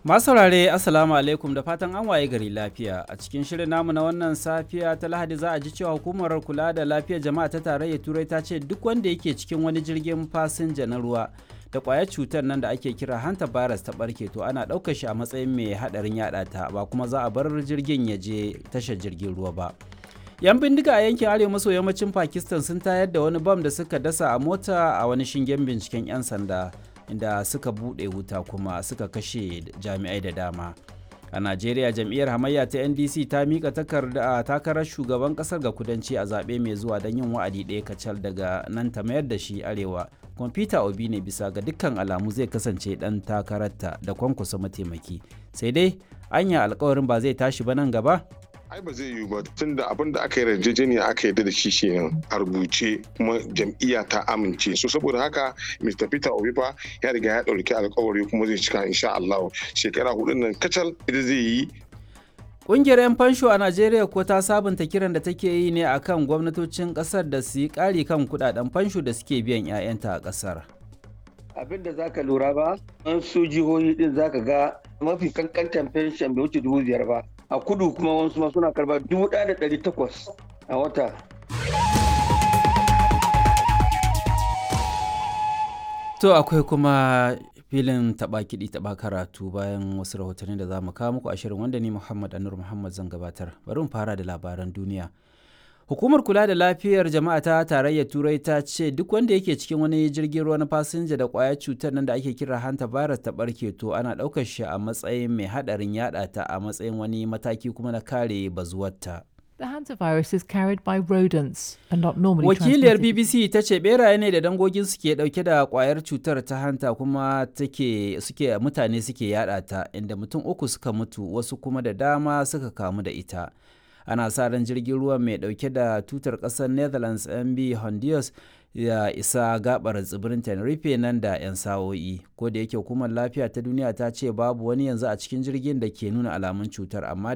Masu saurare, Assalamu alaikum, da fatan an waye gari lafiya. A cikin shirin namu na wannan safiya ta Lahadi, za a ji cewa hukumar kula da lafiyar jama'a ta tarayyar Turai ta ce duk wanda yake cikin wani jirgin fasinja na ruwa da kwayar cutar nan da ake kira hanta virus ta barke, to ana ɗaukar shi a matsayin mai haɗarin yaɗa ta, ba kuma za a bar jirgin ya je tashar jirgin ruwa ba. 'Yan bindiga a yankin arewa maso yammacin Pakistan sun tayar da wani bam da suka dasa a mota a wani shingen binciken 'yan sanda, inda suka buɗe wuta kuma suka kashe jami'ai da dama. A Najeriya, jam'iyyar hamayya ta NDC ta mika takarda takarar shugaban kasar ga kudanci a zaɓe mai zuwa don yin wa'adi ɗaya kacal, daga nan ta mayar da shi arewa. Kwamfuta Obi ne bisa ga dukkan alamu zai kasance ɗan takararta da Kwankwasa mataimaki. Sai dai anya alkawarin ba zai tashi ba nan gaba? Ai ba zai yiwu ba, tunda abin da aka yi yarjejeniya aka yarda da shi kenan a rubuce, kuma jam'iyya ta amince. So saboda haka Mr. Peter Obi fa ya riga ya ɗauki alkawari kuma zai cika insha Allah. Shekara 4 nan kacal ita zai yi. Ƙungiyar 'yan fansho a Najeriya ko ta sabunta kiran da take yi ne akan gwamnatocin ƙasar da su yi ƙari kan kuɗaɗen fansho da suke biyan 'ya'yanta a ƙasar. Abin da zaka lura ba, an su jihohi din zaka ga mafi kankantan pension bai wuce 5,000 ba. A kudu kuma wasu ma suna karba 1,800 a wata. To akwai kuma filin taɓa kiɗi taɓa karatu bayan wasu rahotanni da za mu kawo muku a shirin, wanda ni Muhammad Anur Muhammad zan gabatar. Bari mu fara da labaran duniya. Hukumar kula da lafiyar jama'a ta tarayyar Turai ta ce duk wanda yake cikin wani jirgin ruwa na fasinja da kwayar cutar nan da ake kira hanta virus ta barke, to ana ɗaukar shi a matsayin mai haɗarin yaɗa ta, a matsayin wani mataki kuma na kare bazuwarta. The hantavirus is carried by rodents and not normally Wakiliyar transmitted. BBC ta ce beraye ne da dangogin suke dauke da kwayar cutar ta hanta, kuma take suke mutane suke yada ta, inda mutum uku suka mutu, wasu kuma da dama suka kamu da ita. Ana sa ran jirgin ruwa mai dauke da tutar kasar Netherlands MB Honduras ya isa gabar tsibirin Tenerife nan da 'yan sa'o'i. Ko da yake hukumar lafiya ta duniya ta ce babu wani yanzu a cikin jirgin da ke nuna alamun cutar, amma dai